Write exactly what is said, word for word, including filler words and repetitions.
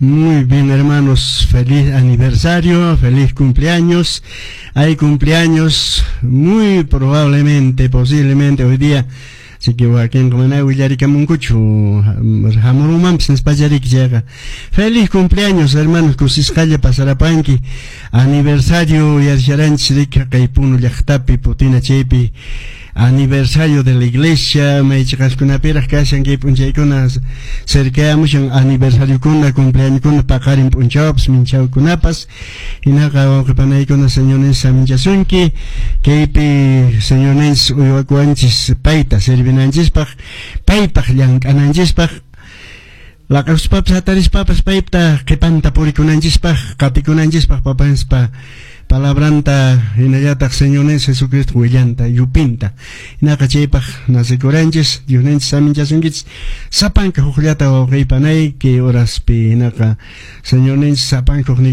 Muy bien, hermanos, feliz aniversario, feliz cumpleaños. Hay cumpleaños muy probablemente, posiblemente hoy día. Así que wakinqa mana willarikamunkuchu hamurumanpis nispachariki chayqa. Feliz cumpleaños, hermanos, kusisqalla pasarapanki. Aniversario yarisharanchis rika kay Puno llaqtapi Putina chaypi aniversario de la iglesia maychiqaskunapiraq kashan kay p'unchaykuna cercayamushan aniversariokuna cumpleañokuna paqarin p'unchawpas minchawkunapas hinaqa wawqipanaykuna Señorninchis saminchasunki kaypi Señorninchis uywakuwanchis payta servinanchispaq paypaq llank'ananchispaq laq'akuspapas hatarispapas payta qhipanta purikunanchispaq qatikunanchispaq papanspa palabranta hinallataq Señorninchis Jesucristo willanta yupinta hinaqa chaypaq nasikuranchis Diosninchis saminchasunkichis sapanka hukllata wawqiypanay kay horaspi hinaqa Señorninchis sapanka hukniyki